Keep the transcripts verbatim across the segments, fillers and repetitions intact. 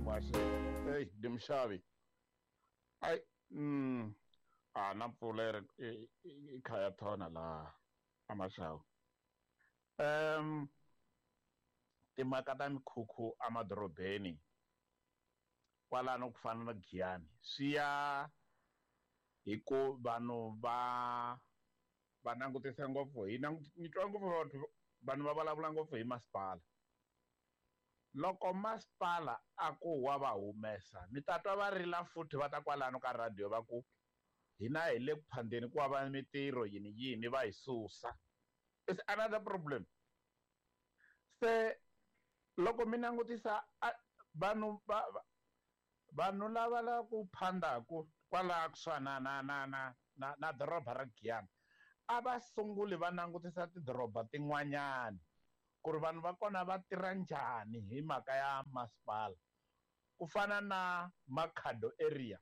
Muhaxi. Hey, ndi muxavi. Ai, mm, a na mpfula yi i kha ya thona laha a Mashau. Um, timhaka ta mikhukhu emadorobeni kwalano ku fana na Giyani swi ya hi ku vanhu va va langutisa ngopfu hi ni twa ngopfu vanhu vanhu va vulavula ngopfu hi masipala. Loko masipala a ku wa va humesa mi ta twa va rila futhi va ta kwalano ka radio va ku hina hi le ku phandeni ku va mitirho yini yini va hi susa. It's another problem. Se loko mi langutisa vanhu va vanhu lava la ku phandaku kwalaha kusuhani na na na na na na doroba ra Giyani a va sunguli va langutisa tidoroba tin'wanyani ku ri vanhu va kona va tirha njhani hi mhaka ya masipala. Ku fana na Makhado area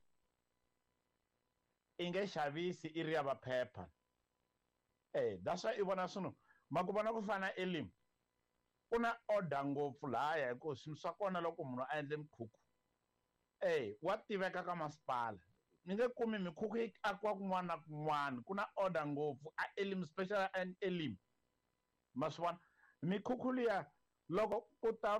i nge xavisi i ri ya vaphepha. Eh, that's why i vona swino ma ku vona ku fana Elim ku na order ngopfu lahaya hi ku swilo swa kona loko munhu a endle mikhukhu eh wa tiveka ka masipala. Ni nge kumi mikhukhu yi akiwa kun'wana na kun'wana ku na order ngopfu a Elim, special and Elim. Ma swi vona mikhukhu liya loko ku ta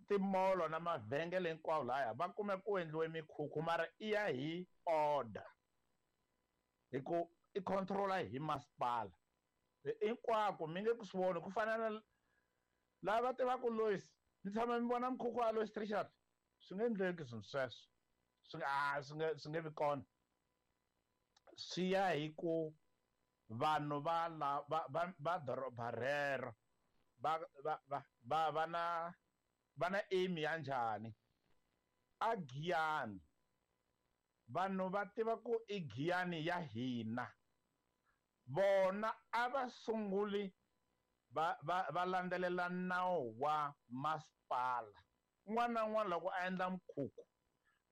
timolo na mavhengele hinkwawo lahaya va kume ku endliwe mikhukhu mara i ya hi order hi ku i controla hi masipala hinkwako. Mi nge ku swi voni ku fana na lava tivaka Lois ni tshama mi vona mikhukhu wa Lois Richard swi nge endleki swilo sweswo swi a swi nge swi nge vi kona. Swi ya hi ku vanhu va la va va va doroba rero va va va va va na va na aim ya njhani. A Giyani vanhu va tiva ku i Giyani ya hina vona a va sunguli va va va landzelela nawu wa masipala. Un'wana na un'wana loko a endla mikhukhu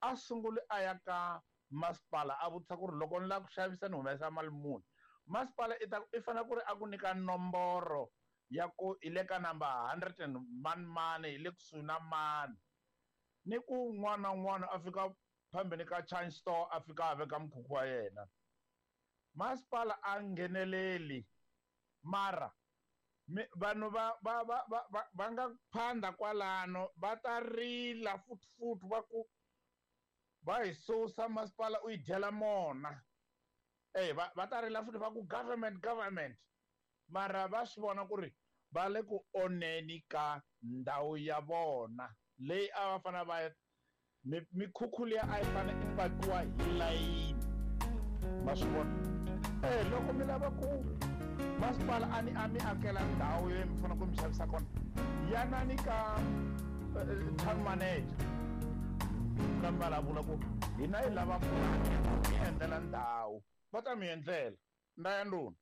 a sunguli a ya ka masipala a vutisa ku ri loko ni lava ku xavisa ni humesa mali muni. Masipala i ta i fanele ku ri a ku nyika nomboro ya ku i le ka number hundred and mani mani hi le kusuhi na mani ni ku un'wana na un'wana a fika phambeni ka change store a fika a veka mukhukhu wa yena. Masipala a ngheneleli mara vanhu va va va va va nga phanda kwalano va ta rila futhi futhi va ku va hi susa masipala u yi dyela mona. Eh va va ta rila futhi va ku government government mara va swi vona ku ri va le ku onheni ka ndhawu ya vona leyi a va fanele va mikhukhu liya a yi fanele i pakiwa hi layini. Ma swi vona eh loko mi lava ku masipala a ni a mi akela ndhawu yo mi fanele ku mi xavisa kona yanani ka town manager ka mi vulavula ku hina hi lava ku mi endlela ndhawu va ta mi endlela nda ya ndhuna.